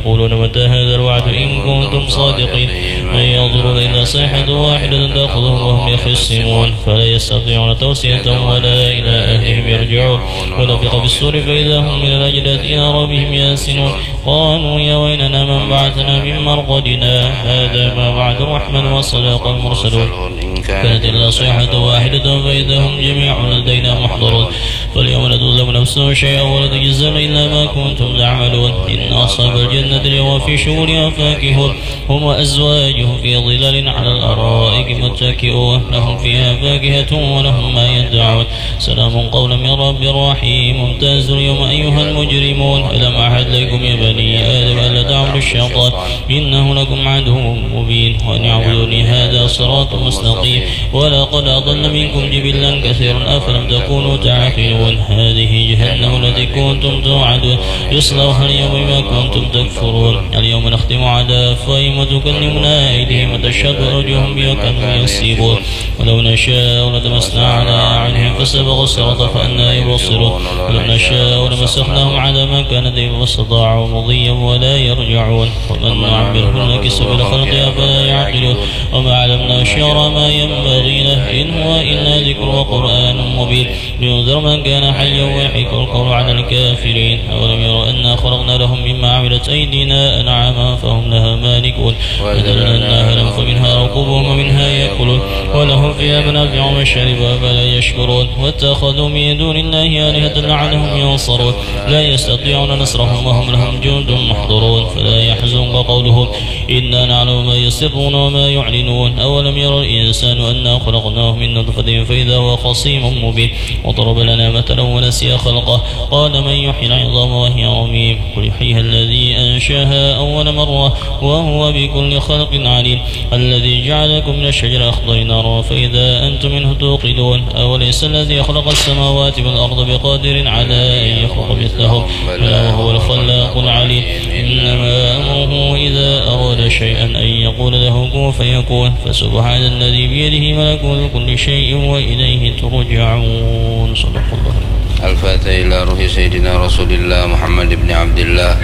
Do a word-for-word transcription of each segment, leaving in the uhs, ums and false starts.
يقولون متى هذا الوعد إن كنتم صادقين. ما ينظرون إلا صيحة واحدة تأخذهم وهم يخصمون، فلا يستطيعون توصية ولا إلى أهلهم يرجعون. ونفخ في الصور فإذا هم من الأجداث إلى ربهم ينسلون. قالوا يا ويلنا من بعثنا من مرقدنا، هذا ما وعد الرحمن وصدق المرسلون. إن كانت إلا صيحة واحدة فإذا هم جميع لدينا محضرون. فاليوم لا تظلم نفس شيئا ولا تجزون إلا ما كنتم تعملون. إن أصحاب الجنة اليوم في شغل فاكهون، هم وأزواجهم في ظلال على الأرائك متكئون، لهم فيها فاكهة ولهم ما يدعون. سلام قولا من رب رحيم. امتازوا اليوم أيها المجرمون. ألم أعهد إليكم يا بني آدم ألا تعبدوا الشيطان إنه لكم عدو مبين وأن اعبدوني هذا صراط مستقيم. ولقد أضل منكم جبلا كثيرا أفلم تكونوا تعقلون. هذه جهنم التي كنتم توعدون يصلوها اليوم بما كنتم تكفرون. اليوم نختم على أفواههم وتكلمنا أيديهم وتشهد أرجلهم بما كانوا يكسبون. ولو نشاء لطمسنا على أعينهم فاستبقوا الصراط فأنى يبصرون. ولو نشاء لمسخناهم على مكانتهم فاستطاعوا مضيا ولا يرجعون. ومن نعمره ننكسه في الخلق أفلا يعقلون. وما علمناه الشعر ما ينبغي له إن هو إلا ذكر وقرآن مبين. لينذر من كان حيا ويحق القول على الكافرين. أولم يروا أنا خلقنا لهم مما عملت أيدينا أنعاما فهم لها مالكون. وذللناها لهم فمنها ركوبهم ومنها يأكلون ولهم فيها منافع ومشارب أفلا يشكرون. واتخذوا من دون الله آلهة لعلهم ينصرون. لا يستطيعون نصرهم وهم لهم جند محضرون. فلا يحزنك قولهم إنا نعلم ما يسرون وما يعلنون. أولم ير الإنسان أنا خلقناه من نطفة فإذا هو خصيم مبين. وضرب لنا مثلا ونسي خلقه قال من يحيي العظام وهي رميم. قل يحييها الذي أنشأها أول مرة وهو بكل خلق عليم. الذي جعل لكم من الشجر الأخضر نارا فإذا أنتم منه توقدون. أوليس الذي خلق السماوات والأرض بقادر على أن يخلق مثلهم بلى وهو الخلاق العليم. إنما أمره إذا أراد شيئا أن يقول له كن فيكون. فسبحان الذي بيده ملكوت كل شيء وإليه ترجعون. صدق الله. الفاتحة إلى روح سيدنا رسول الله محمد بن عبد الله،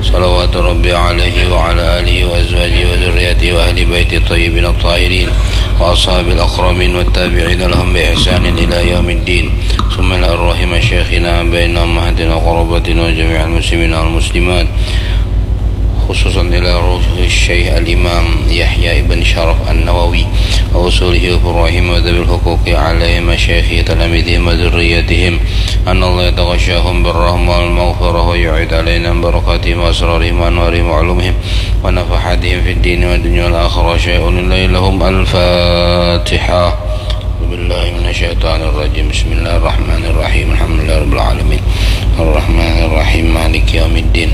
صلوات ربي عليه وعلى آله وأزواجه وذريته وأهل بيته الطيبين الطاهرين وأصحابه الأكرمين والتابعين لهم بإحسان إلى يوم الدين. ثم إلى أرواح مشايخنا بين أمهاتنا وقراباتنا وجميع المسلمين والمسلمات، خصوصا إلى روح الشيخ الإمام يحيى بن شرف النووي وأصوله وفروعهم وذوي الحقوق عليهم مشايخهم وتلاميذهم وذريتهم، أن الله يتغشاهم بالرحمة والمغفرة ويعيد علينا من بركاتهم وأسرارهم وأنوارهم وعلومهم ونفحاتهم في الدين والدنيا والآخرة شيء لله لهم. الفاتحة. أعوذ بالله من الشيطان الرجيم. بسم الله الرحمن الرحيم. الحمد لله رب العالمين. الرحمن الرحيم. مالك يوم الدين.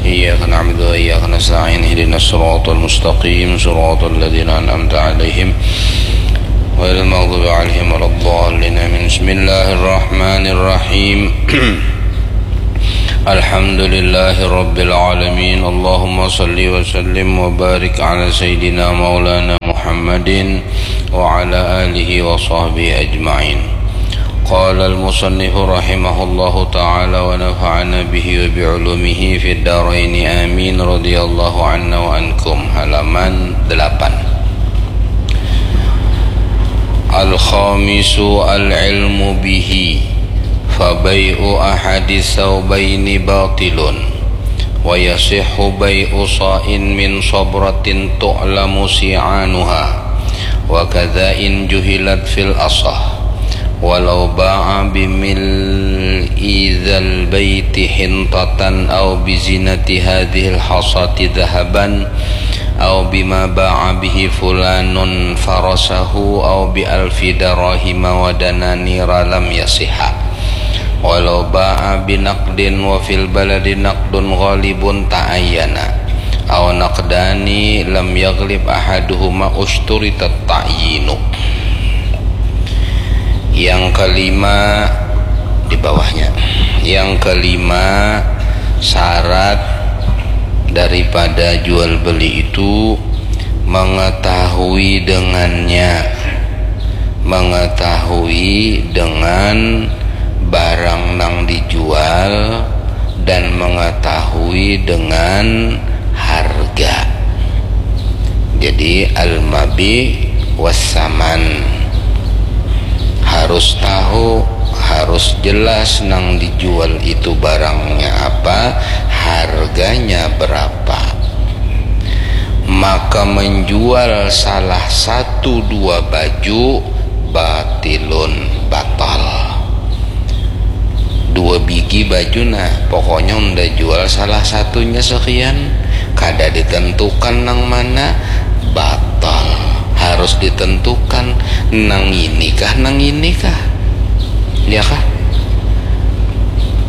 إياك نعبد وإياك نستعين. اهدنا الصراط المستقيم. صراط الذين أنعمت عليهم غير المغضوب عليهم ولا الضالين. آمين. بسم الله الرحمن الرحيم. الحمد لله رب العالمين. اللهم صل وسلم وبارك على سيدنا مولانا محمد وعلى آله وصحبه أجمعين. قال المصنف رحمه الله تعالى ونفعنا به وبعلومه في الدارين آمين، رضي الله عنا وعنكم. Halaman delapan. الخامس العلم به، فبيع أحد الثوبين باطل، ويصح بيع صاع من صبرة تعلم صيعانها، وكذا إن جهلت في الأصح، ولو باع بملء ذا البيت حنطة أو بزينة هذه الحصاة ذهبا أو بما باع به فلان فرسه أو بألف دراهم ودنانير لم يصح، ولو باع بنقد وفي البلد نقد غالب تعين أو نقدان لم يغلب أحدهما اشترط التعيين. Yang kelima, di bawahnya. Yang kelima, syarat daripada jual beli itu mengetahui dengannya, mengetahui dengan barang nang dijual dan mengetahui dengan Jadi al-mabi was-saman, harus tahu, harus jelas nang dijual itu barangnya apa, harganya berapa. Maka menjual salah satu dua baju batilun, batal. Dua bigi baju, nah, pokoknya unda jual salah satunya sekian, kada ditentukan nang mana, batal. Harus ditentukan nang ini kah, nang ini kah, ya kah?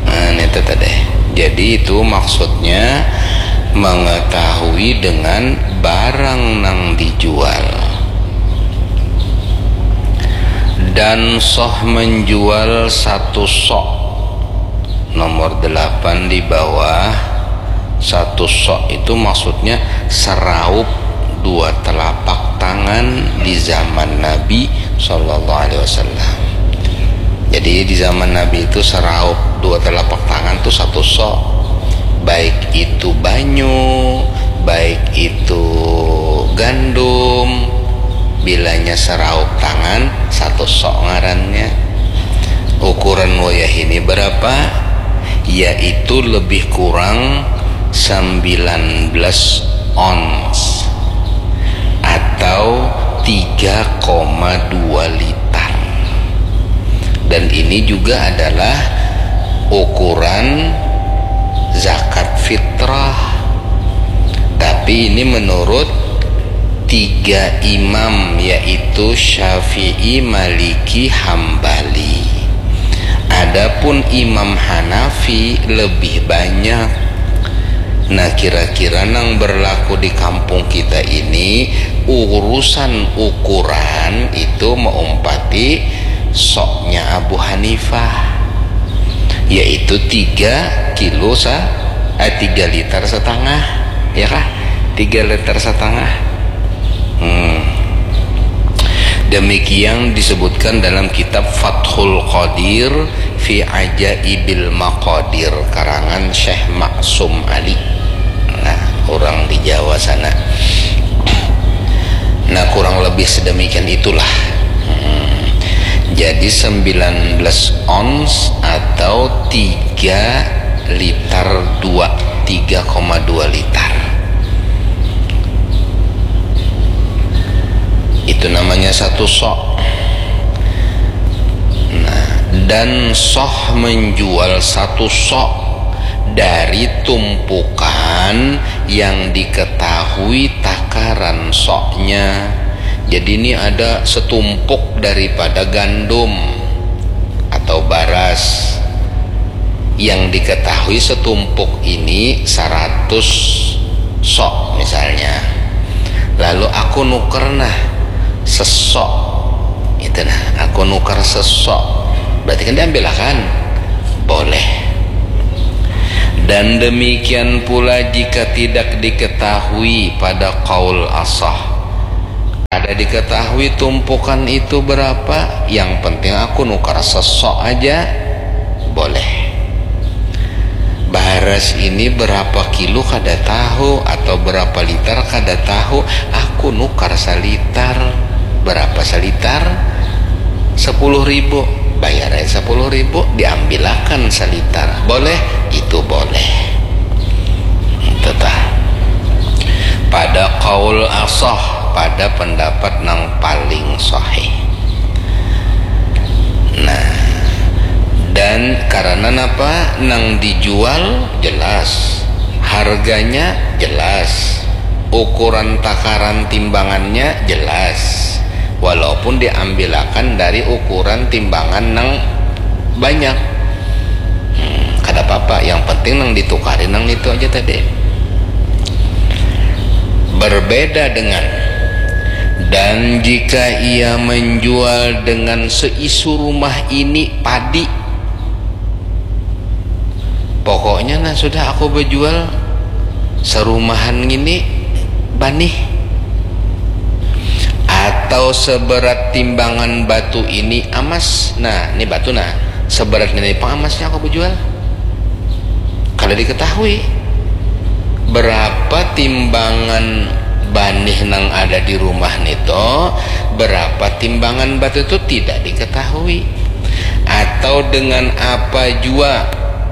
Nah, itu tadi. Jadi itu maksudnya mengetahui dengan barang nang dijual. Dan soh menjual satu sok. Nomor delapan di bawah, satu sok itu maksudnya seraup dua telapak tangan di zaman Nabi Shallallahu Alaihi Wasallam. Jadi di zaman Nabi itu seraup dua telapak tangan tuh satu sok, baik itu banyu, baik itu gandum, bilanya seraup tangan satu sok ngarannya. Ukuran wayah ini berapa? Yaitu lebih kurang sembilan belas ons atau tiga koma dua liter. Dan ini juga adalah ukuran zakat fitrah. Tapi ini menurut tiga imam, yaitu Syafi'i, Maliki, Hambali. Adapun Imam Hanafi lebih banyak. Nah, kira-kira nang berlaku di kampung kita ini, urusan ukuran itu meumpati soknya Abu Hanifah, yaitu tiga kilo sa eh, tiga liter setengah, ya kah? Tiga liter setengah. Hmm. Demikian disebutkan dalam kitab Fathul Qadir fi Ajaibil Maqadir karangan Syekh Maksum Ali. Nah, orang di Jawa sana. Nah, kurang lebih sedemikian itulah. Hmm. Jadi sembilan belas ons atau tiga liter dua, tiga koma dua liter. Itu namanya satu sok. Nah, dan soh menjual satu sok dari tumpukan yang diketahui takaran soknya. Jadi ini ada setumpuk daripada gandum atau baras yang diketahui setumpuk ini seratus sok misalnya. Lalu aku nuker nah sesok. Itu nah, aku nuker sesok. Berarti kan diambil akan? Boleh. Dan demikian pula jika tidak diketahui pada kaul asah. Kada diketahui tumpukan itu berapa, yang penting aku nukar sesok aja, boleh. Baras ini berapa kilo kada tahu, atau berapa liter kada tahu, aku nukar salitar. Berapa salitar? Sepuluh ribu. Bayar aja sepuluh ribu, diambilakan salitar. Boleh? Itu boleh. Tetah. Pada kaul asah, pada pendapat nang paling sahih. Nah, dan karena napa, nang dijual jelas, harganya jelas, ukuran takaran timbangannya jelas, walaupun diambilakan dari ukuran timbangan nang banyak. Hmm, kada apa-apa, yang penting nang ditukari nang itu aja tadi. Berbeda dengan, dan jika ia menjual dengan seisu rumah ini padi, pokoknya nah sudah aku berjual serumahan ini banih, atau seberat timbangan batu ini emas. Nah, ini batu nah, seberat ini pang emasnya aku berjual. Kada diketahui berapa timbangan banih nang ada di rumah nito, berapa timbangan batu itu tidak diketahui. Atau dengan apa jua,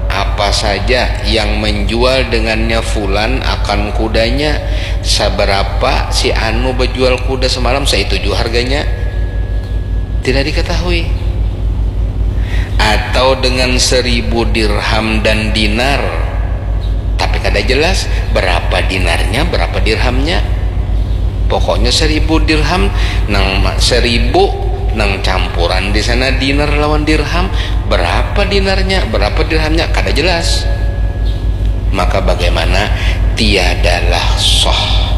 apa saja yang menjual dengannya fulan akan kudanya, seberapa si anu bejual kuda semalam, seitu jua harganya. Tidak diketahui. Atau dengan seribu dirham dan dinar, tapi kada jelas berapa dinarnya, berapa dirhamnya. Pokoknya seribu dirham, nang seribu nang campuran di sana dinar lawan dirham, berapa dinarnya, berapa dirhamnya, kada jelas. Maka bagaimana? Tiadalah sah.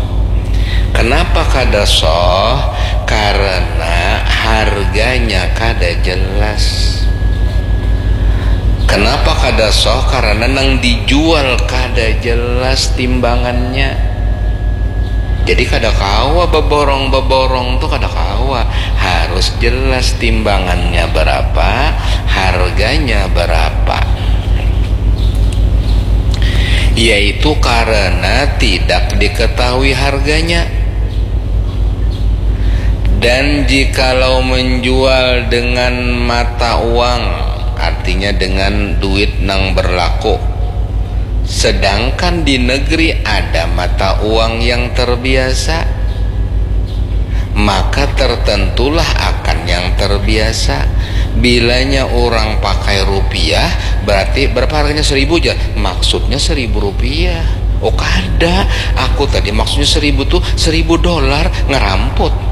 Kenapa kada sah? Karena harganya kada jelas. Kenapa kada sah? Karena nang dijual kada jelas timbangannya. Jadi kada kawa beborong-beborong tuh, kada kawa. Harus jelas timbangannya berapa, harganya berapa. Yaitu karena tidak diketahui harganya. Dan jikalau menjual dengan mata uang, artinya dengan duit nang berlaku, sedangkan di negeri ada mata uang yang terbiasa, maka tertentulah akan yang terbiasa. Bilanya orang pakai rupiah, berarti berapa harganya? Seribu aja. Maksudnya seribu rupiah. Oh, kada. Aku tadi maksudnya seribu tuh seribu dolar, ngeramput.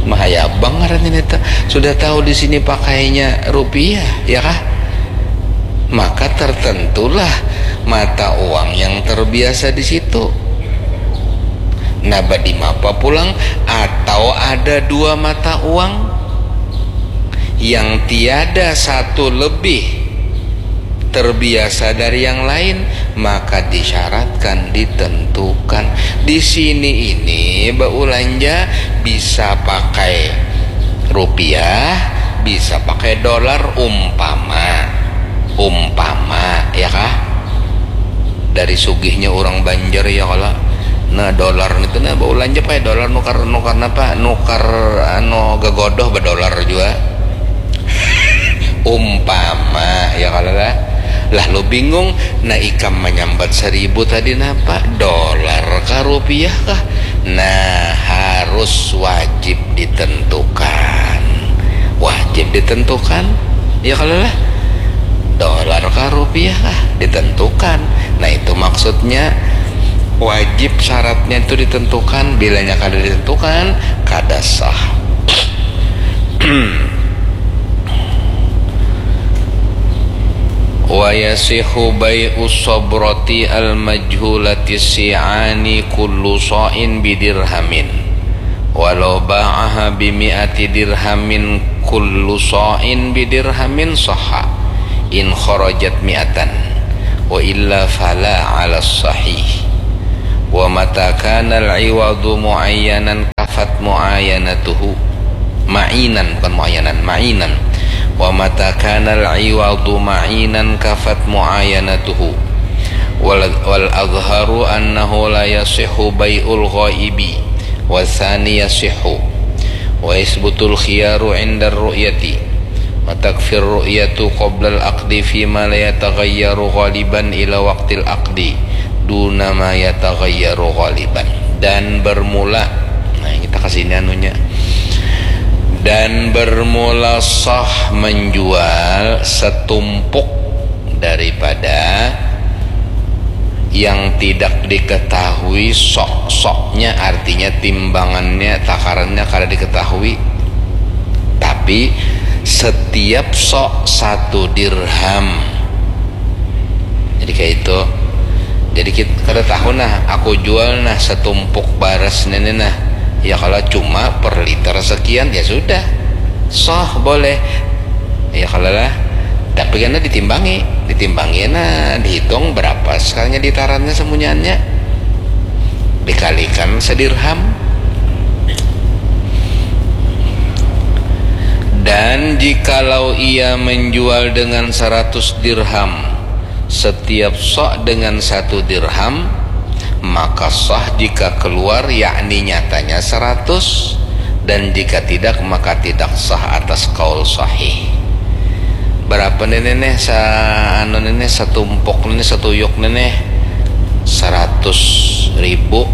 Mahayabang ngarannya neta. Sudah tahu di sini pakainya rupiah, ya kah? Maka tertentulah mata uang yang terbiasa di situ. Nah, badimapa pulang atau ada dua mata uang yang tiada satu lebih terbiasa dari yang lain, maka disyaratkan, ditentukan. Di sini ini beulanja bisa pakai rupiah, bisa pakai dolar, umpama, umpama, ya kah? Dari sugihnya orang Banjar, ya kalo. Nah, dolar itu nah beulanja pakai dolar, nukar, nukar napa? Nukar anu gegodoh bedolar jua. Umpama, ya kalo lah. Lah lu bingung, nah ikam manyambat seribu tadi napa? Dolar kah, rupiah kah? Nah, harus wajib ditentukan. Wajib ditentukan, ya kalo lah. Dolar kah, rupiah kah? Ditentukan. Nah, itu maksudnya wajib, syaratnya itu ditentukan. Bilanya kada ditentukan, kada sah. Wa yasihhu bai'u sabrati al-majhulati si'ani kullu sa'in bidirhamin, walau ba'aha bimi'ati dirhamin kullu sa'in bidirhamin sahha, in kharajat mi'atan, wa illa fala 'ala sahih. Wa mata kana al-'iwadu mu'ayyanan kafat mu'ayanatuhu. Ma'inan, bukan mu'ayyanan, ma'inan. Wa mata kana al-'iwadu ma'inan kafat mu'ayanatuhu. Wal, wal azharu annahu la yasihhu bai'ul ghaibi, wa tsani yasihhu. Wa yasbutul khiyaru 'indar ru'yati. Wa takfir ru'yatu qablal aqdi fima la yataghayyaru ghaliban ila waqtil aqdi duna ma yataghayyaru ghaliban. Dan bermula, nah, kita kasih ini anunya. Dan bermula sah menjual setumpuk daripada yang tidak diketahui sok-soknya, artinya timbangannya, takarannya kada diketahui. Tapi setiap sok satu dirham. Jadi kayak itu. Jadi kita kada tahu nah, aku jual nah setumpuk baras ini nah. Ya kalau cuma per liter sekian, ya sudah. Sah, boleh. Ya kalau lah. Tapi karena ditimbangi, ditimbangi nah, dihitung berapa sekarangnya ditarannya semunyaannya. Dikalikan sedirham. Dan jikalau ia menjual dengan seratus dirham, setiap sok dengan satu dirham, Maka sah jika keluar, yakni nyatanya seratus, dan jika tidak, maka tidak sah atas kaul sahih. Berapa nih, nih, sa-, anu nih, nih, satumpuk nih, nih, satuyuk nih, nih? Seratus ribu.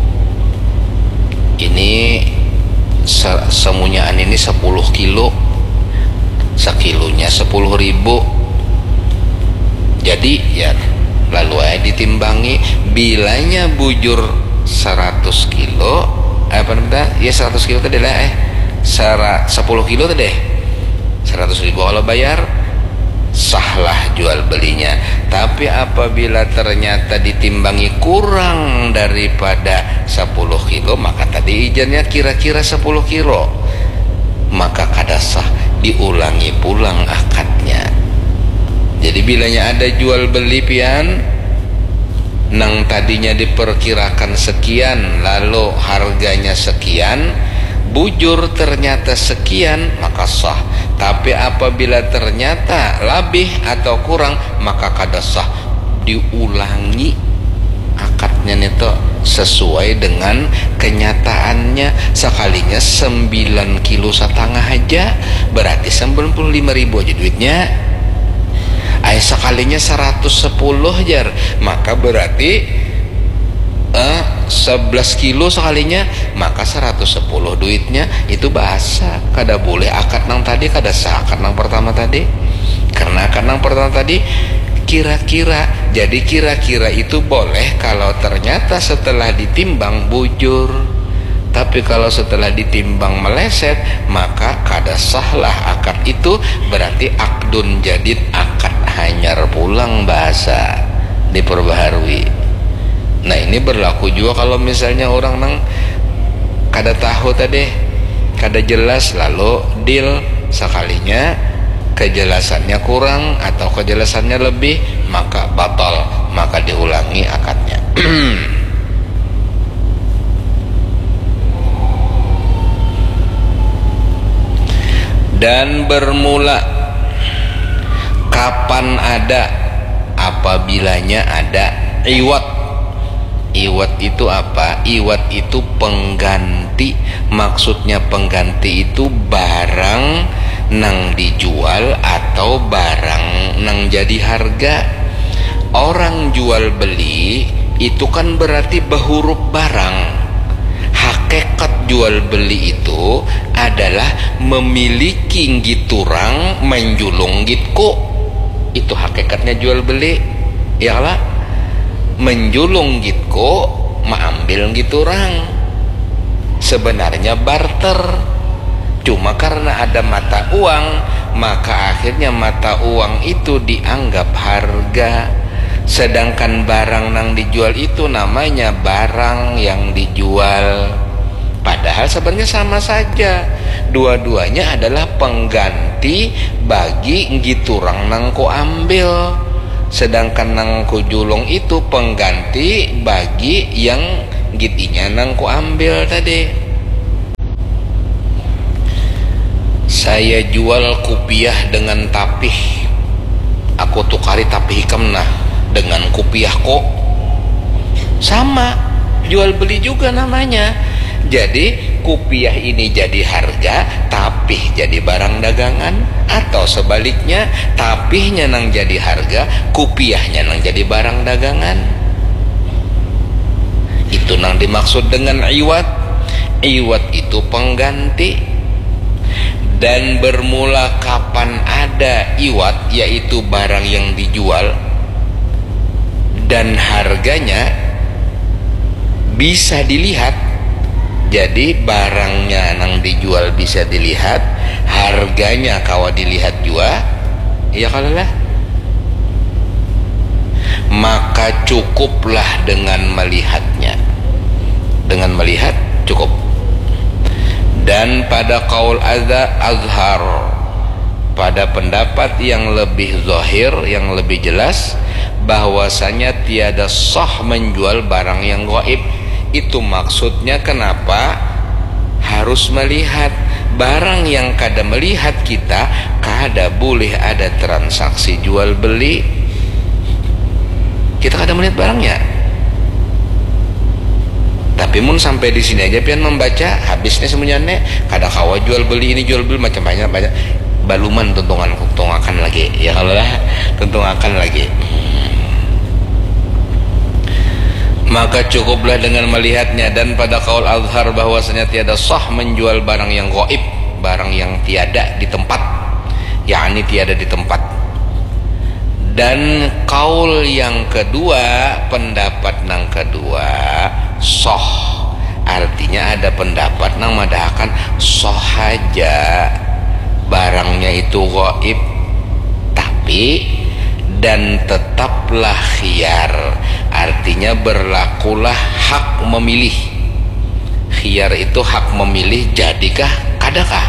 Ini se-, semunyaan ini sepuluh kilo. Sekilonya sepuluh ribu. Jadi, ya, lalu aja ditimbangi. Bilanya bujur seratus kilo, eh, apa namanya? Ya, seratus kilo tadi lah, eh. Sera-, sepuluh kilo tadi, eh. Seratus ribu kalau bayar, sahlah jual belinya. Tapi apabila ternyata ditimbangi kurang daripada sepuluh kilo, maka tadi ijannya kira-kira sepuluh kilo. Maka kada sah, diulangi pulang akadnya. Jadi, bilanya ada jual beli, pian, nang tadinya diperkirakan sekian, lalu harganya sekian, bujur ternyata sekian, maka sah. Tapi apabila ternyata labih atau kurang, maka kada sah, diulangi akadnya nih tuh sesuai dengan kenyataannya. Sekalinya sembilan kilo setengah aja, berarti sembilan puluh lima ribu aja duitnya. Ai, sekalinya seratus sepuluh, jar, maka berarti, eh, sebelas kilo sekalinya, maka seratus sepuluh duitnya. Itu bahasa, kada boleh akad nang tadi, kada sah akad nang pertama tadi. Karena akad nang pertama tadi kira-kira. Jadi, kira-kira itu boleh kalau ternyata setelah ditimbang bujur. Tapi kalau setelah ditimbang meleset, maka kada sahlah akad itu, berarti akdun jadid, akad hanyar pulang bahasa, diperbaharui. Nah, ini berlaku juga kalau misalnya orang nang kada tahu tadi, kada jelas, lalu deal, sekalinya kejelasannya kurang atau kejelasannya lebih, maka batal, maka diulangi akadnya. Dan bermula kapan ada, apabilanya ada iwad. Iwad itu apa? Iwad itu pengganti. Maksudnya pengganti itu barang nang dijual atau barang nang jadi harga. Orang jual beli itu kan berarti bahurup barang. Hakikat jual beli itu adalah memiliki nggiturang, menjulung ngitku. Itu hakikatnya jual beli. Ya kala? Menjulung ngitku, maambil nggiturang. Sebenarnya barter. Cuma karena ada mata uang, maka akhirnya mata uang itu dianggap harga. Sedangkan barang nang dijual itu namanya barang yang dijual. Padahal sebenarnya sama saja. Dua-duanya adalah pengganti bagi nggiturang nang kuambil. Sedangkan nang kujulung itu pengganti bagi yang nggit inya nang kuambil tadi. Saya jual kupiah dengan tapih. Aku tukari tapih ikam nah dengan kupiahku. Sama, jual beli juga namanya. Jadi, kupiah ini jadi harga, tapih jadi barang dagangan, atau sebaliknya, tapihnya nang jadi harga, kupiahnya nang jadi barang dagangan. Itu nang dimaksud dengan iwad. Iwad itu pengganti. Dan bermula kapan ada iwad, yaitu barang yang dijual, dan harganya bisa dilihat. Jadi, barangnya nang dijual bisa dilihat, harganya kawa dilihat jua. Iya kalo lah? Maka cukuplah dengan melihatnya. Dengan melihat cukup. Dan pada kaul adza azhar, pada pendapat yang lebih zahir, yang lebih jelas, bahwasanya tiada sah menjual barang yang gaib. Itu maksudnya kenapa harus melihat. Barang yang kada melihat kita, kada boleh ada transaksi jual beli. Kita kada melihat barangnya. Tapi mun sampai di sini aja pian membaca, habis nih semuanya nih, kada kawa jual beli ini jual beli macam banyak banyak. Baluman tuntungan tuntungakan lagi, ya kalau lah, tuntungakan lagi. Maka cukuplah dengan melihatnya, dan pada kaul azhar bahwasanya tiada sah menjual barang yang gaib, barang yang tiada di tempat, yakni tiada di tempat. Dan kaul yang kedua, pendapat yang kedua, sah. Artinya ada pendapat yang madahakan sah aja barangnya itu gaib, tapi dan tetaplah khiyar, artinya berlakulah hak memilih. Khiyar itu hak memilih, jadikah, kadakah?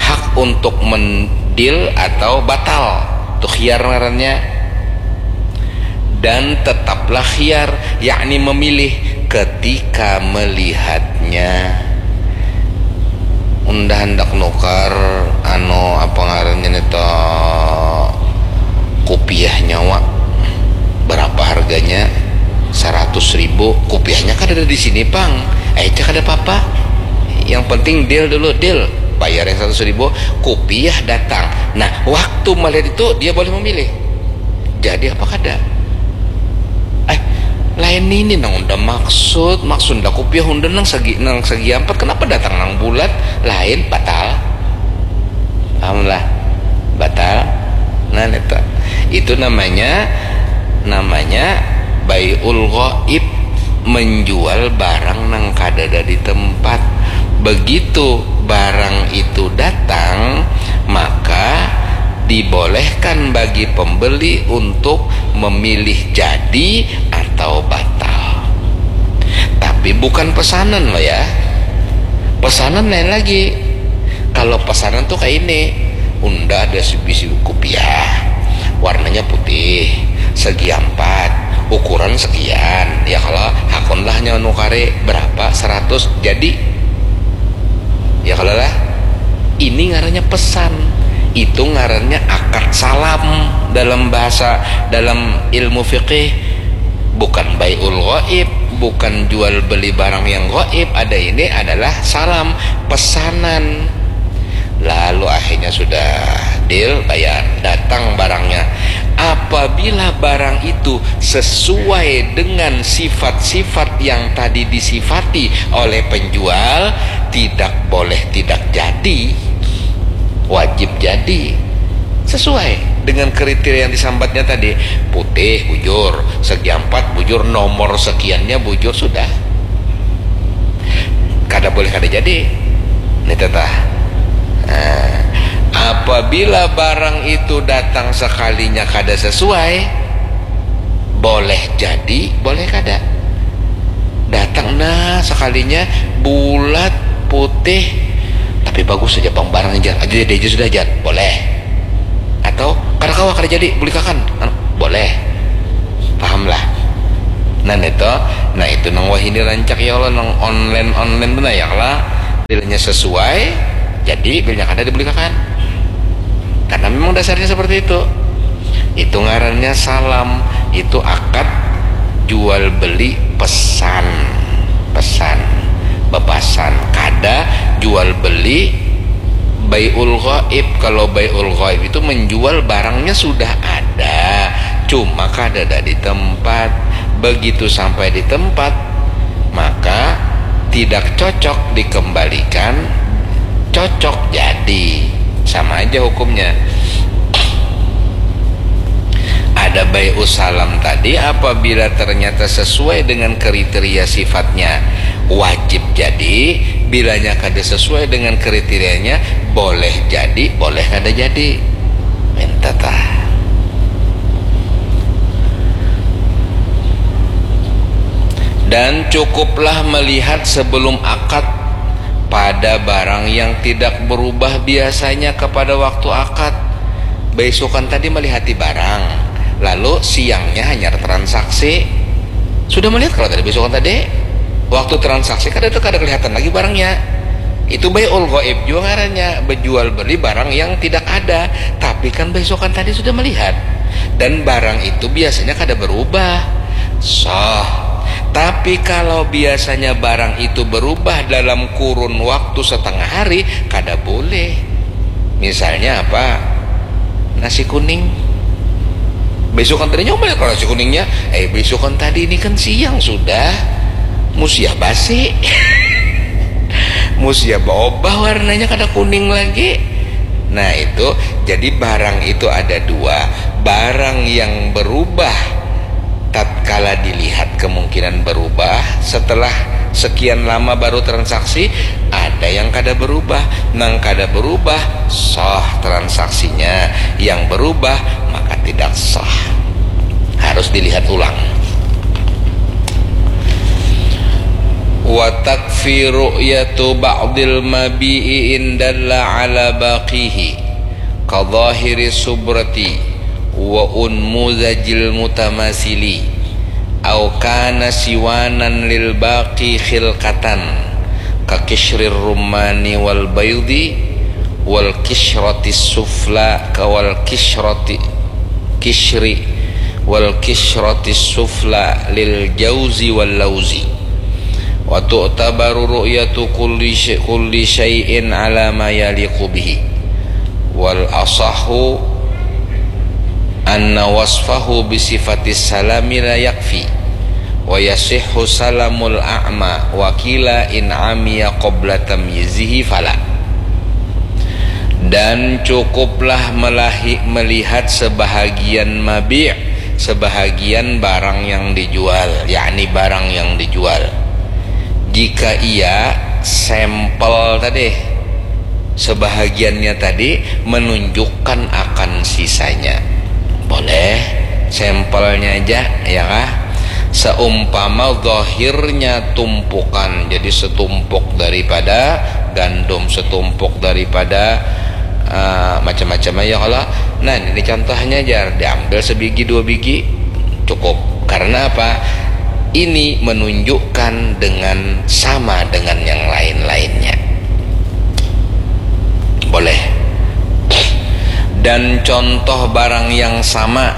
Hak untuk mendil atau batal, itu khiyar ngarannya. Dan tetaplah khiyar, yakni memilih ketika melihatnya. Unda handak nukar, anu, apa ngarannya nih, to, kupiah nyawa, berapa harganya? Seratus ribu. Kupiahnya kan ada di sini, pang. Eh, cak ada apa-apa. Yang penting deal dulu, deal. Bayar yang seratus ribu, kupiah datang. Nah, waktu melihat itu, dia boleh memilih. Jadi apa kada? Eh, lain ini nang unda maksud, maksud unda kupiah unda nang segi, nang segi ampat, kenapa datang nang bulat? Lain, batal. Paham lah? Batal. Nah, itu, itu namanya, namanya bai'ul ghaib, menjual barang nang kadada di tempat. Begitu barang itu datang, maka dibolehkan bagi pembeli untuk memilih jadi atau batal. Tapi bukan pesanan loh ya. Pesanan lain lagi. Kalau pesanan tuh kayak ini, unda ada sebisi kupiah, warnanya putih, segi empat, ukuran sekian, ya kalau hakunlah nyawa nukari berapa, seratus, jadi. Ya kalau lah, ini ngarannya pesan. Itu ngarannya akad salam dalam bahasa, dalam ilmu fikih. Bukan bai'ul ghaib, bukan jual beli barang yang gaib. Ada ini adalah salam, pesanan. Lalu akhirnya sudah deal, bayar, datang barangnya. Apabila barang itu sesuai dengan sifat-sifat yang tadi disifati oleh penjual, tidak boleh tidak jadi, wajib jadi. Sesuai dengan kriteria yang disambatnya tadi, putih bujur, segi empat bujur, nomor sekiannya bujur, sudah. Kada boleh kada jadi. Ini tetah. Nah, apabila barang itu datang sekalinya kada sesuai, boleh jadi, boleh kada. Datang nah sekalinya bulat, putih, tapi bagus saja pang barang, jar. Aja jadi aja sudah, jar. Boleh. Atau kada kawa, kada jadi, bulikakan. Anu, boleh. Paham lah. Nah, itu, nah, itu nang wahini rancak ya Allah, nang online-online tu nah ya Allah. Bilanya sesuai, jadi, bilanya kada, dibulikakan. Karena memang dasarnya seperti itu. Itu ngarannya salam, itu akad jual beli pesan. Pesan, bepasan. Kada jual beli bai'ul ghaib. Kalau bai'ul ghaib itu menjual barangnya sudah ada, cuma kada ada di tempat. Begitu sampai di tempat, maka tidak cocok dikembalikan, cocok jadi. Sama aja hukumnya. Ada bai'us salam tadi, apabila ternyata sesuai dengan kriteria sifatnya, wajib jadi. Bilanya kada sesuai dengan kriterianya, boleh jadi, boleh kada jadi. Minta tah. Dan cukuplah melihat sebelum akad pada barang yang tidak berubah biasanya kepada waktu akad. Beisukan tadi melihati barang, lalu siangnya hanya transaksi. Sudah melihat kalau tadi beisukan tadi? Waktu transaksi kada, kada kelihatan lagi barangnya. Itu bai'ul ghaib juga ngarannya, berjual beli barang yang tidak ada. Tapi kan beisukan tadi sudah melihat. Dan barang itu biasanya kada berubah. Sah. Tapi kalau biasanya barang itu berubah dalam kurun waktu setengah hari, kada boleh. Misalnya apa? Nasi kuning. Besokan tadi nyoba kalau nasi kuningnya, eh, besokan tadi ini kan siang sudah. Musia basi. Musia berubah warnanya, kada kuning lagi. Nah, itu jadi barang itu ada dua. Barang yang berubah tatkala dilihat kemungkinan berubah, setelah sekian lama baru transaksi, ada yang kada berubah. Nang kada berubah, sah transaksinya. Yang berubah, maka tidak sah. Harus dilihat ulang. Wa takfi ru'yatu ba'dil mabi'i indalla ala baqihi, ka zahiri subrati wa unmuzajil mutamasili, au kana siwanan lil baqi khilqatan, ka kishrir rumani wal baidi, wal kishrati sufla, ka wal kishrati kishri, wal kishrati sufla lil jauzi wal lauzi. Wa tu'tabaru ru'yatu kulli sy-, kulli syai'in ala ma yaliqu bihi. Wal asahu anna wasfahu bi sifatis salami la yakfi. Wa yasihhu salamul a'ma, wa qila in amiya qabla tamyizihi fala. Dan cukuplah melahi-, melihat sebahagian mabi', sebahagian barang yang dijual, yakni barang yang dijual. Jika ia sampel tadi, sebahagiannya tadi menunjukkan akan sisanya, boleh sampelnya aja, ya kah? Seumpama zahirnya tumpukan, jadi setumpuk daripada gandum, setumpuk daripada, eh, macam-macam aja kalau. Nah, ini contohnya, jar, diambil sebigi dua bigi, cukup. Karena apa? Ini menunjukkan dengan sama dengan yang lain-lainnya. Boleh. Dan contoh barang yang sama,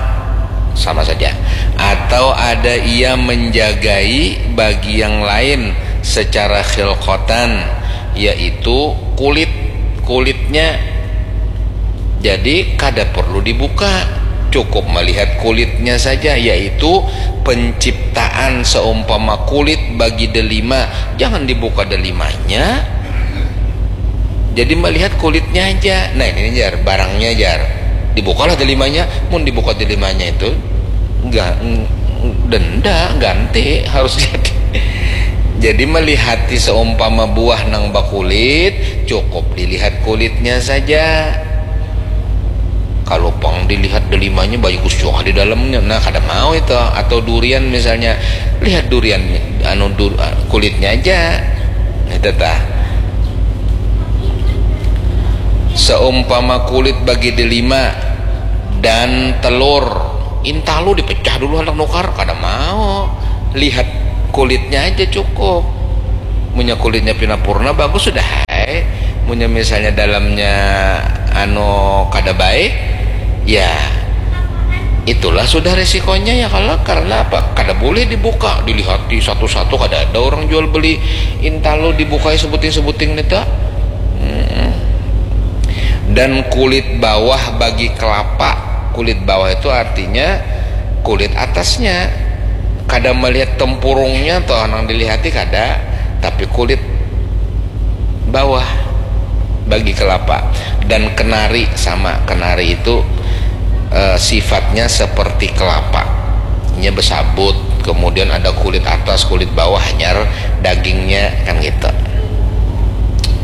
sama saja. Atau ada ia menjagai bagi yang lain secara khilqatan, yaitu kulit, kulitnya. Jadi, kada perlu dibuka, cukup melihat kulitnya saja, yaitu penciptaan. Seumpama kulit bagi delima, jangan dibuka delimanya. Jadi, melihat kulitnya aja. Nah, ini, jar, barangnya, jar. Dibukalah delimanya, mun dibuka delimanya itu, ga-, denda, ganti, harus jadi. Jadi, melihati seumpama buah nang bakulit, cukup dilihat kulitnya saja. Kalau pang dilihat delimanya bagus jua di dalamnya, nah, kada mau itu. Atau durian misalnya, lihat durian, anu, dur-, kulitnya aja. Itu tah. Seumpama kulit bagi delima dan telur, intalu dipecah dulu handak nukar, kada mau. Lihat kulitnya aja cukup. Munnya kulitnya pina purna, bagus sudah ai. Munnya misalnya dalamnya, anu, kada baik, ya, itulah sudah resikonya, ya kalo. Karena apa? Kada boleh dibuka, dilihati satu-satu, kada ada orang jual beli intalu dibukai sebuting-sebuting nih, tuh. Mm-mm. Dan kulit bawah bagi kelapa. Kulit bawah itu artinya kulit atasnya. Kada melihat tempurungnya, toh, nang dilihati kada, tapi kulit bawah bagi kelapa. Dan kenari sama, kenari itu, eh, sifatnya seperti kelapa. Inya besabut, kemudian ada kulit atas, kulit bawah, hanyar dagingnya, kan gitu.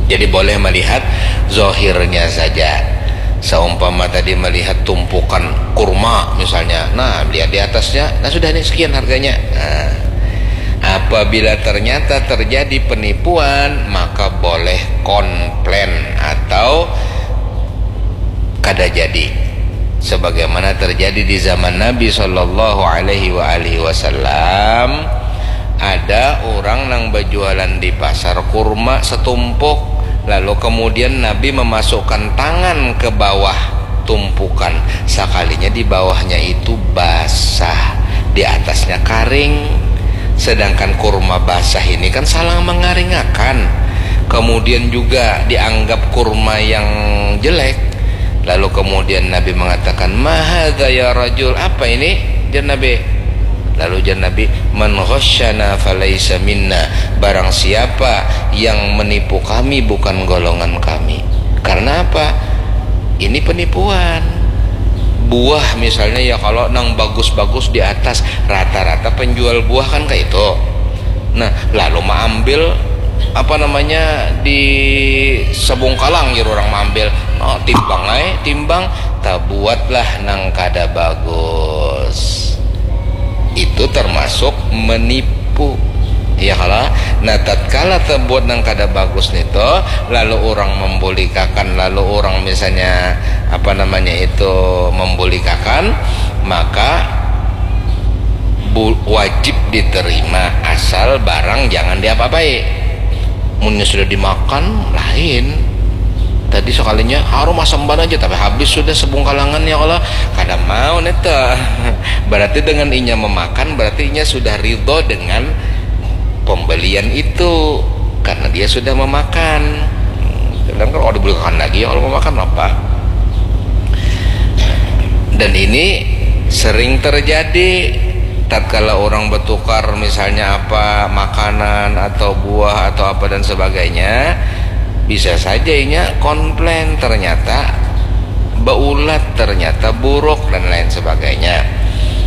Jadi boleh melihat zohirnya saja. Seumpama tadi melihat tumpukan kurma misalnya, nah, lihat di atasnya, nah, sudah nih, sekian harganya. Nah, apabila ternyata terjadi penipuan, maka boleh komplain atau kada jadi. Sebagaimana terjadi di zaman Nabi Shallallahu Alaihi wa alihi Wasallam, ada orang nang berjualan di pasar kurma setumpuk, lalu kemudian Nabi memasukkan tangan ke bawah tumpukan, sekalinya di bawahnya itu basah, di atasnya karing. Sedangkan kurma basah ini kan salah mengaringakan, kemudian juga dianggap kurma yang jelek. Lalu kemudian Nabi mengatakan, "Ma hadza ya rajul?" "Apa ini?" jar Nabi. Lalu jar Nabi, "Man ghasyana falaisa minna." Barang siapa yang menipu kami, bukan golongan kami. Karena apa? Ini penipuan. Buah misalnya, ya, kalau nang bagus-bagus di atas, rata-rata penjual buah kan kayak itu. Nah, lalu maambil, apa namanya, di Sebungkalang, jar orang maambil. Oh, timbang ai, timbang, tabuatlah nang kada bagus. Itu termasuk menipu. Ya kalo? Nah, tatkala tabuat nang kada bagus nitu, lalu urang membulikakan, lalu urang misalnya, apa namanya itu, membulikakan, maka bu-, wajib diterima, asal barang jangan diapa-apai. Munnya sudah dimakan, lain. Tadi sekalinya harum asam ban aja, tapi habis sudah Sebungkalangan, ya kalo? Kada mau neta. Berarti dengan inya memakan, berarti inya sudah ridho dengan pembelian itu, karena dia sudah memakan. Sedangkan kalau dibulikakan lagi, ya, kalau memakan apa? Dan ini sering terjadi tatkala orang bertukar, misalnya apa, makanan atau buah atau apa dan sebagainya, bisa saja inya komplain, ternyata baulat, ternyata buruk, dan lain sebagainya.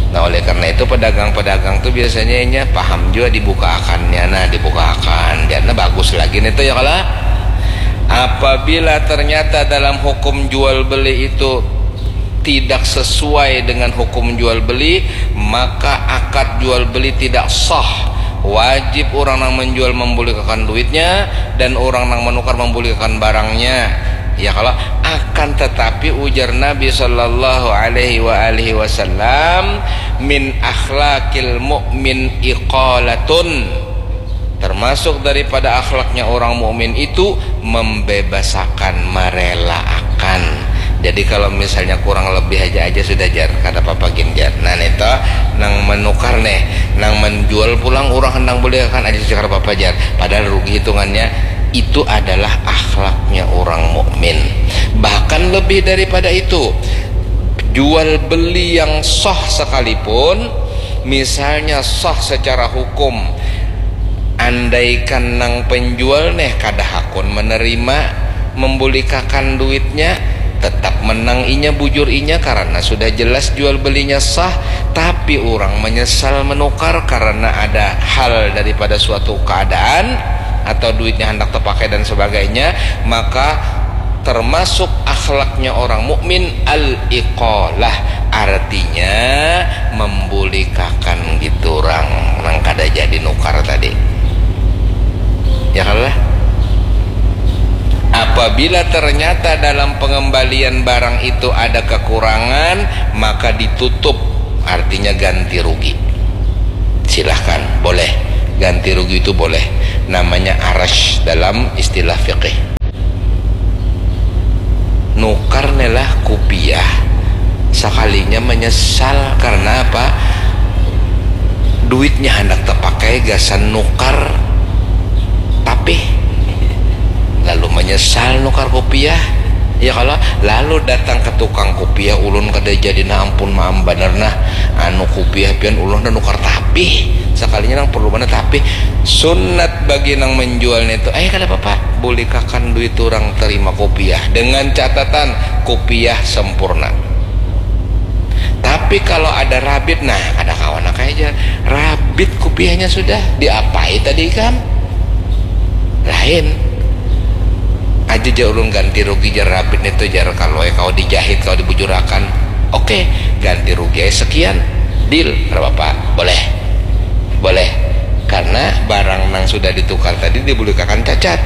Nah, oleh karena itu, pedagang-pedagang tuh biasanya inya paham juga dibukaakannya. Nah, dibukaakan, jadinya bagus lagi nih tuh, ya kalo? Apabila ternyata dalam hukum jual beli itu tidak sesuai dengan hukum jual beli, maka akad jual beli tidak sah. Wajib orang nang menjual membulikakan duitnya, dan orang nang menukar membulikakan barangnya. Ya kalo? Akan tetapi, ujar Nabi sallallahu alaihi wa alihi wasallam, "Min akhlakil mu'min iqalatun." Termasuk daripada akhlaknya orang mukmin itu membebasakan, merelaakan. Jadi kalau misalnya kurang lebih aja, aja sudah, jar, kada apa-apa gin, jar. Nah, nih toh, nang menukar nih, nang menjual pulang, urang hendak bulikakan aja, kada apa-apa, jar. Padahal rugi hitungannya. Itu adalah akhlaknya orang mukmin. Bahkan lebih daripada itu, jual beli yang sah sekalipun, misalnya sah secara hukum, andaikan nang penjual neh kada hakun menerima, membulikakan duitnya, tetap menang inya, bujur inya, karena sudah jelas jual belinya sah. Tapi orang menyesal menukar karena ada hal daripada suatu keadaan atau duitnya hendak terpakai dan sebagainya, maka termasuk akhlaknya orang mukmin al-iqalah, artinya membulikakan gitu orang nang kada jadi nukar tadi. Ya kalo lah? Apabila ternyata dalam pengembalian barang itu ada kekurangan, maka ditutup, artinya ganti rugi. Silahkan, boleh. Ganti rugi itu boleh. Namanya arash dalam istilah fikih. Nukar nelah kupiah, sakalinya menyesal. Karena apa? Duitnya handak tapakai gasan nukar tapih, lalu menyesal nukar kupiah. Ya kalo? Lalu datang ke tukang kupiah, "Ulun kada jadi nah, ampun, maaf banar nah, anu, kupiah pian ulun handak nukar tapih." Sakalinya nang perlu banar tapih. Sunat bagi nang menjual nitu, "Eh, kada apa-apa, bulikakan duit urang, terima kupiah, dengan catatan kupiah sempurna." Tapi kalau ada rabit, nah, kada kawan, nah, kayak aja rabit kupiahnya sudah diapai tadi ikam? Lain. "Aja ja ulun ganti rugi," jar, "rabit nitu," jar, "kalau, eh, kau dijahit, kau dibujurakan. Oke, ganti rugi aja sekian. Deal, kada apa-apa. Boleh. Boleh. Karena barang nang sudah ditukar tadi dibulikakan cacat.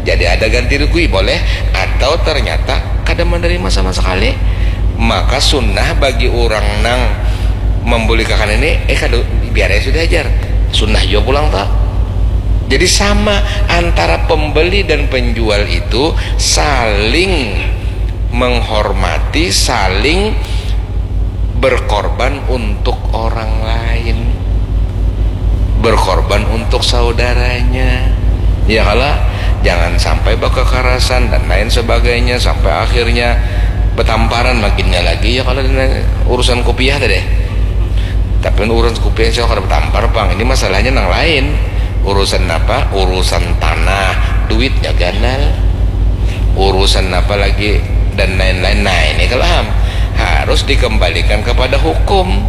Jadi ada ganti rugi, boleh. Atau ternyata kada menerima sama sekali. Maka sunnah bagi orang nang membulikakan ini, eh, kada, biar aja sudah, jar. Sunnah juga pulang, toh. Jadi sama antara pembeli dan penjual itu saling menghormati, saling berkorban untuk orang lain. berkorban untuk saudaranya, ya kala? Jangan sampai bakakarasan dan lain sebagainya sampai akhirnya betamparan makinnya lagi, ya kala? Urusan kupiah tadi, tapi urusan kupiah saya kada betampar pang, ini masalahnya nang lain. Urusan apa? Urusan tanah, duitnya ganal, urusan apa lagi, dan lain-lain. Nah, ini kalau ham harus dikembalikan kepada hukum.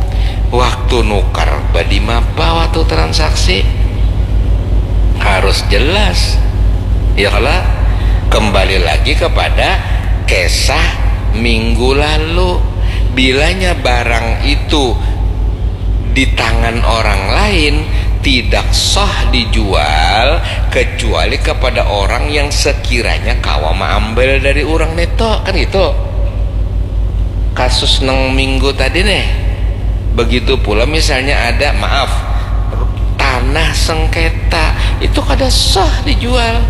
Waktu nukar badimapa, waktu transaksi harus jelas, ya kala? Kembali lagi kepada kisah minggu lalu, bilanya barang itu di tangan orang lain tidak sah dijual kecuali kepada orang yang sekiranya kawa maambil dari orang neto, kan gitu. Kasus nang minggu tadi nih. Begitu pula misalnya ada, maaf, tanah sengketa, itu kada sah dijual,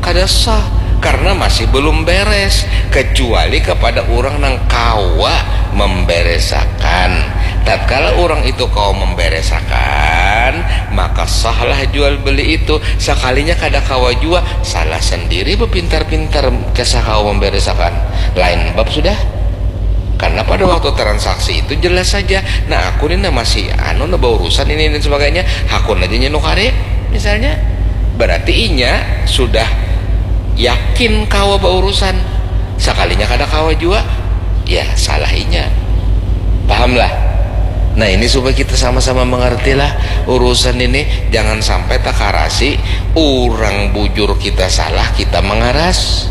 kada sah, karena masih belum beres, kecuali kepada orang nang kawa memberesakan. Tatkala orang itu kawa memberesakan, maka sahlah jual beli itu. Sakalinya kada kawa jua, salah sendiri bepintar-pintar kisah kawa memberesakan. Lain bab sudah. Karena pada waktu transaksi itu jelas saja, nah, aku ni nah masih anu, nah, baurusan ini dan sebagainya, hakun aja nya nukari, misalnya. Berarti inya sudah yakin kawa baurusan. Sakalinya kada kawa jua, ya salah inya. Pahamlah? Nah, ini supaya kita sama-sama mengertilah urusan ini, jangan sampai takarasi, orang bujur kita salah, kita mengaras.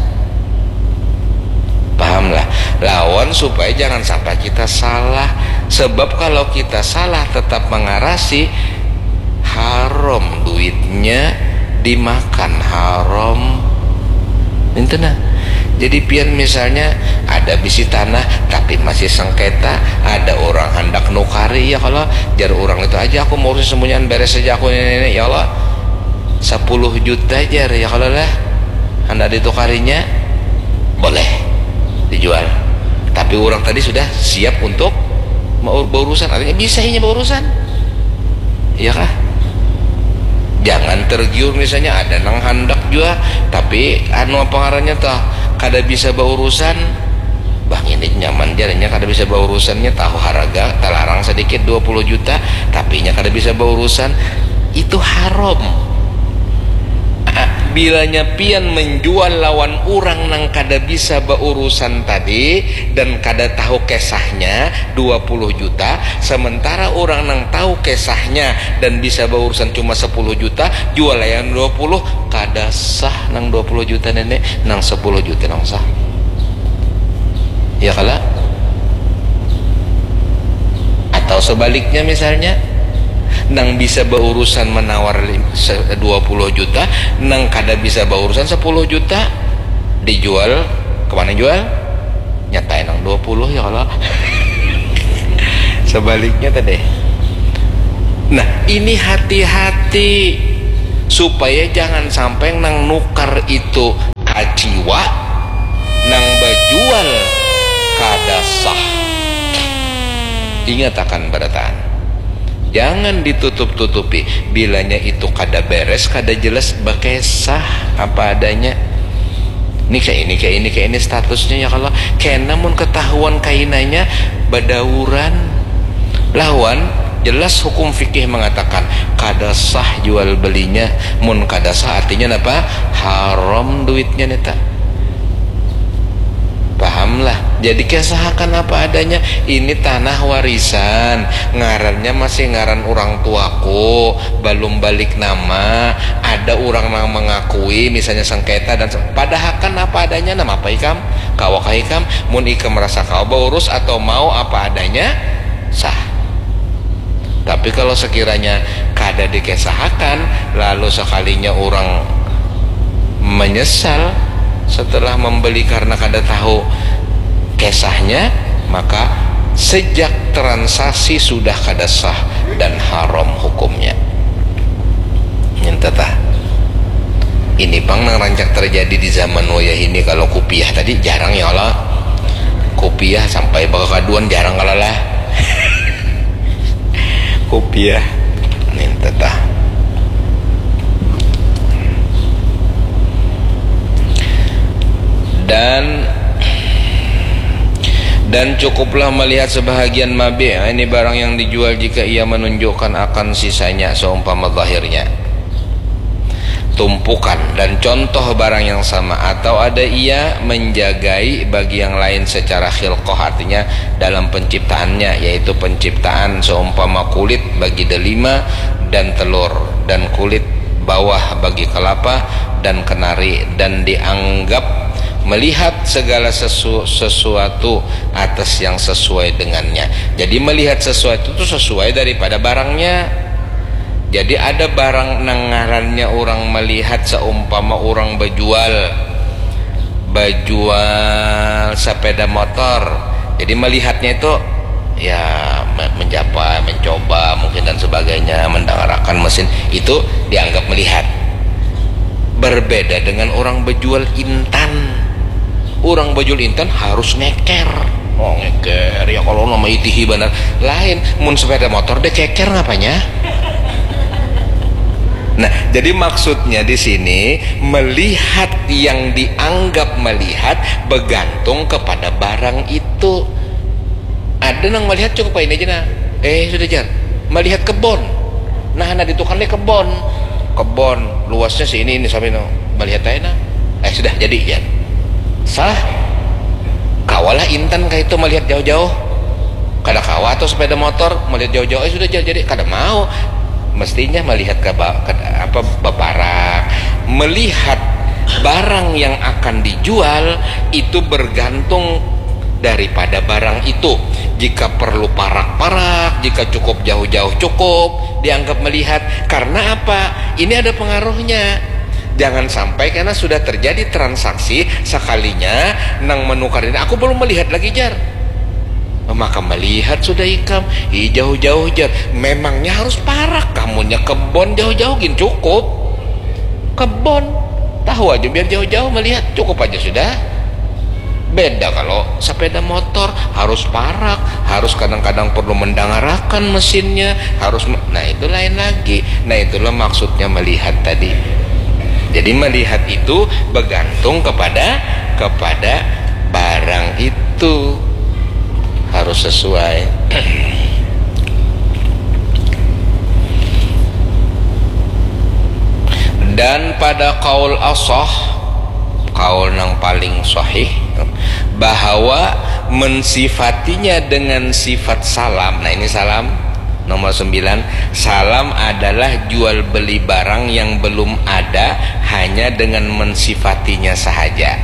Pahamlah? Lawan supaya jangan sampai kita salah. Sebab kalau kita salah tetap mengarasi, haram duitnya, dimakan haram. Itu nah. Jadi pian misalnya ada bisi tanah tapi masih sengketa, ada orang hendak nukari, ya kalau jar orang itu, aja aku mau urusin semuanya, beres saja aku ini, ini, ya Allah, sepuluh juta jar, ya kalau lah, hendak ditukarinya, boleh dijual. Tapi orang tadi sudah siap untuk mau berurusan, artinya bisa inya berurusan, iya kah? Jangan tergiur, misalnya ada nang handak jua, tapi anu, apa ngarannya tuh, kada bisa baurusan. Bah, ini nyaman jar, inya kada bisa baurusannya, tahu harga, talarang sedikit dua puluh juta, tapi inya kada bisa baurusan. Itu haram. Ah, bilanya pian menjual lawan orang nang kada bisa baurusan tadi dan kada tahu kisahnya dua puluh juta, sementara orang nang tahu kisahnya dan bisa baurusan cuma sepuluh juta, jual yang dua puluh, kada sah nang dua puluh juta nenek, nang sepuluh juta nang sah. Ya kala? Atau sebaliknya misalnya, nang bisa baurusan menawar lim-, se-, dua puluh juta, nang kada bisa baurusan sepuluh juta, dijual, kemana jual? Nyatain nang dua puluh, ya kala? Sebaliknya tadi. Nah, ini hati-hati supaya jangan sampai nang nukar itu kaciwa, nang bajual kada sah. Ingat akan barataan. Jangan ditutup-tutupi. Bilanya itu kada beres, kada jelas, bakisah apa adanya. Ini kayak ini, kayak ini, kayak ini statusnya, ya kalau kena mun ketahuan kainanya badauran lawan, jelas hukum fikih mengatakan kada sah jual belinya. Mun kada sah artinya apa? Haram duitnya neta. Pahamlah? Jadi kesahakan apa adanya. Ini tanah warisan, ngarannya masih ngaran orang tuaku, belum balik nama. Ada orang yang mengakui, misalnya sengketa dan se-, padahakan apa adanya. Nama apa ikam? Kawakah ikam? Mun ikam merasa kau baurus atau mau apa adanya, sah. Tapi kalau sekiranya kada dikesahakan, lalu sekalinya orang menyesal setelah membeli karena kada tahu kesahnya, maka sejak transaksi sudah kada sah dan haram hukumnya. Nyenteta. Ini pang nang rancak terjadi di zaman wayah ini. Kalau kupiah tadi jarang ya Allah. Kupiah sampai bakakaduan jarang kalalah. Kupiah. Nyenteta. Tah. Dan dan cukuplah melihat sebahagian mabi', ini barang yang dijual, jika ia menunjukkan akan sisanya seumpama zahirnya, tumpukan dan contoh barang yang sama, atau ada ia menjagai bagi yang lain secara khilqah, artinya dalam penciptaannya, yaitu penciptaan seumpama kulit bagi delima dan telur, dan kulit bawah bagi kelapa dan kenari, dan dianggap melihat segala sesu- sesuatu atas yang sesuai dengannya. Jadi melihat sesuatu itu sesuai daripada barangnya. Jadi ada barang nang ngarannya orang melihat, seumpama orang bejual, bejual sepeda motor. Jadi melihatnya itu ya me- menjapa, mencoba mungkin dan sebagainya, mendengarakan mesin, itu dianggap melihat. Berbeda dengan orang bejual intan. Orang bejual intan harus ngeker. Oh, ngeker ya, kalau nama itihi banar. Lain, mun sepeda motor deh keker ngapanya? Nah, jadi maksudnya di sini, melihat yang dianggap melihat bergantung kepada barang itu. Ada nang melihat cukup ini aja nah. Eh, sudah, jar. Melihat kebon. Nah, nah, di tukang nih kebon. Kebon, luasnya si ini, ini sampai no. Melihat aja nah. Eh, sudah jadi, jar. Sah. Kawalah intan kayak itu melihat jauh-jauh. Kada kawa atau sepeda motor melihat jauh-jauh, eh, sudah, jar, jadi. Kada mau. Mestinya melihat ke, ba- ke apa, baparak. Melihat barang yang akan dijual itu bergantung daripada barang itu. Jika perlu parak-parak, jika cukup jauh-jauh cukup dianggap melihat. Karena apa? Ini ada pengaruhnya. Jangan sampai karena sudah terjadi transaksi sekalinya nang menukar ini, aku belum melihat lagi, jar. Maka melihat sudah ikam, ih, jauh-jauh, jar. Memangnya harus parak kamunya kebon jauh-jauh gin cukup. Kebon. Tahu aja biar jauh-jauh melihat, cukup aja sudah. Beda kalau sepeda motor, harus parak, harus kadang-kadang perlu mendangarakan mesinnya, harus me- nah, itu lain lagi. Nah, itulah maksudnya melihat tadi. Jadi melihat itu bergantung kepada kepada barang itu, harus sesuai. Dan pada kaul asah, kaul nang paling sahih, bahwa mensifatinya dengan sifat salam. Nah, ini salam nomor sembilan. Salam adalah jual beli barang yang belum ada, hanya dengan mensifatinya sahaja.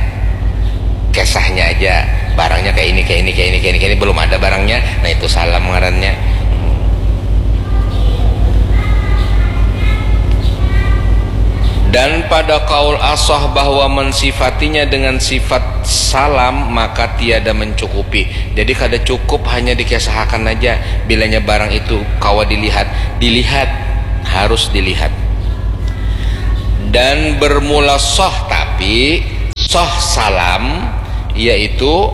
Kisahnya aja, barangnya kayak ini, kayak ini, kayak ini, kayak ini, kayak ini, belum ada barangnya. Nah, itu salam ngarannya. Dan pada kaul asah bahwa mensifatinya dengan sifat salam, maka tiada mencukupi. Jadi kada cukup hanya dikesahakan aja. Bilanya barang itu kawa dilihat, dilihat, harus dilihat. Dan bermula sah, tapi sah salam, yaitu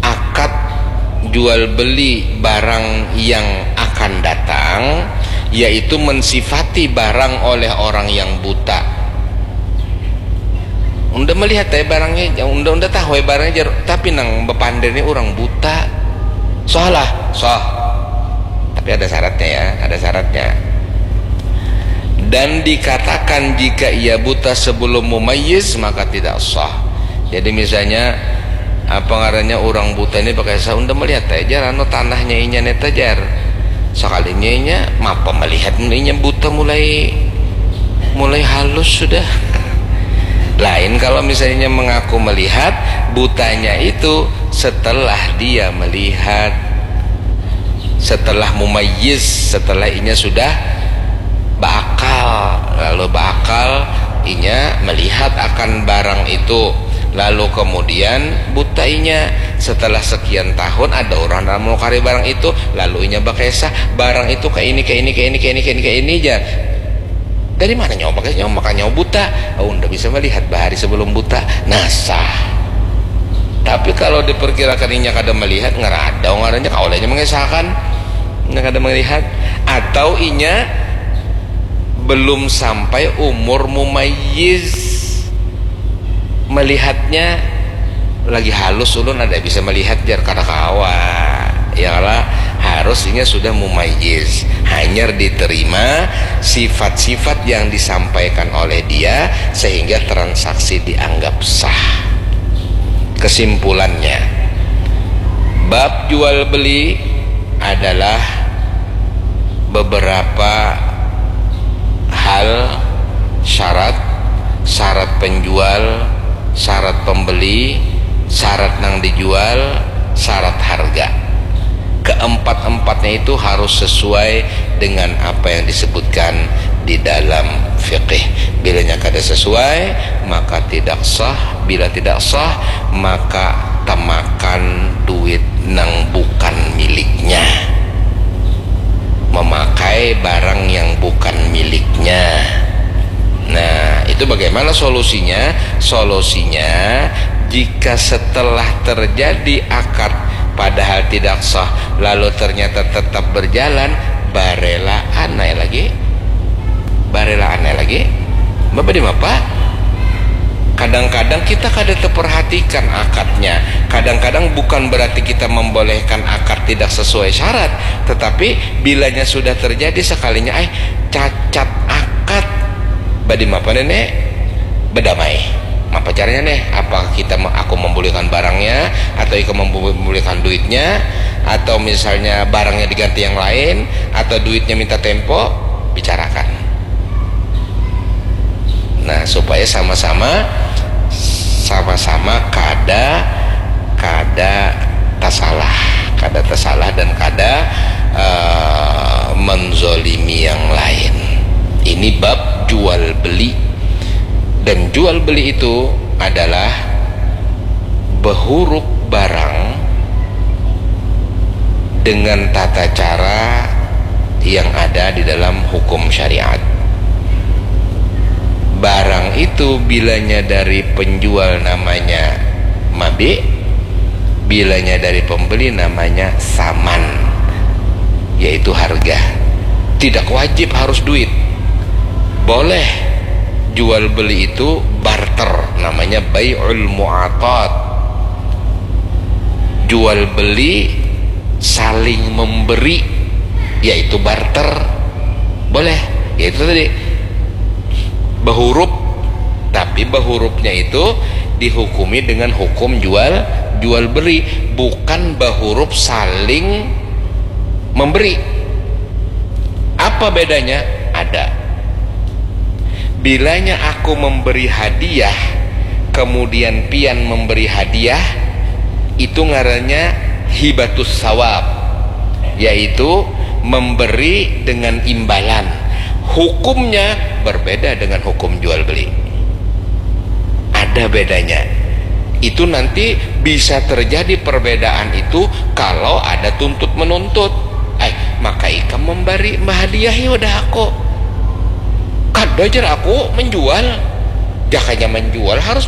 akad jual beli barang yang akan datang, yaitu mensifati barang oleh orang yang buta. Unda melihat ya barangnya, unda unda tahu ya barangnya, tapi nang bepander ini orang buta. Sah lah, sah. Tapi ada syaratnya ya, ada syaratnya. Dan dikatakan jika ia buta sebelum mumayyiz, maka tidak sah. Jadi misalnya apa ngarannya, orang buta ini pakai sah, unda melihat aja anu tanahnya inya neta jar. Sekalinya inya mapa melihat inya buta mulai mulai halus sudah. Lain kalau misalnya mengaku melihat butanya itu setelah dia melihat, setelah mumayyiz, setelah inya sudah berakal, lalu berakal inya melihat akan barang itu, lalu kemudian buta inya setelah sekian tahun ada orang dalam menukari barang itu, lalu inya bakesah barang itu kayak ini, kayak ini, kayak ini, kayak ini, kayak ini, kayak ini aja. Dari mana nyawa pakai nyawa makan nyawa buta? Oh, unda bisa melihat bahari sebelum buta. Nah, sah. Tapi kalau diperkirakan inya kada melihat, ngerada ngarannya kau aja mengesahkan. Inya kada melihat. Atau inya belum sampai umur mumayyiz, melihatnya lagi halus, ulun ada bisa melihat jar, kada kawa. Ya lah, harus inya sudah mumayyiz, hanyar diterima sifat-sifat yang disampaikan oleh dia sehingga transaksi dianggap sah. Kesimpulannya, bab jual beli adalah beberapa hal, syarat, syarat penjual, syarat pembeli, syarat nang dijual, syarat harga. Keempat-empatnya itu harus sesuai dengan apa yang disebutkan di dalam fikih. Bilanya kada sesuai, maka tidak sah. Bila tidak sah, maka temakan duit nang bukan miliknya, memakai barang yang bukan miliknya. Nah, itu bagaimana solusinya? Solusinya, jika setelah terjadi akad padahal tidak sah, lalu ternyata tetap berjalan, barelaan ai lagi. Barelaan ai lagi. Bapa di mapa? Kadang-kadang kita kada terperhatikan akadnya. Kadang-kadang bukan berarti kita membolehkan akad tidak sesuai syarat, tetapi bilanya sudah terjadi sekalinya, eh, cacat akad. Badi mapa nenek? Bedamai. Apa caranya nih? Apa kita aku membolehkan barangnya, atau ikam membolehkan duitnya, atau misalnya barangnya diganti yang lain, atau duitnya minta tempo? Bicarakan. Nah, supaya sama-sama sama-sama kada kada tasalah, kada tasalah dan kada uh, menzolimi yang lain. Ini bab jual beli, dan jual beli itu adalah behurup barang dengan tata cara yang ada di dalam hukum syariat. Barang itu bilanya dari penjual namanya mabi, bilanya dari pembeli namanya saman, yaitu harga. Tidak wajib harus duit. Boleh jual beli itu barter, namanya bai'ul mu'atat. Jual beli saling memberi, yaitu barter. Boleh, yaitu tadi, behurup, tapi behurupnya itu dihukumi dengan hukum jual jual beli, bukan behurup saling memberi. Apa bedanya? Ada. Bilanya aku memberi hadiah, kemudian pian memberi hadiah, itu ngarannya hibatus sawab, yaitu memberi dengan imbalan. Hukumnya berbeda dengan hukum jual beli. Ada bedanya. Itu nanti bisa terjadi perbedaan itu kalau ada tuntut menuntut. Eh, maka ikam memberi, menghadiahi wadah aku. Kada jar aku menjual. Jakanya menjual harus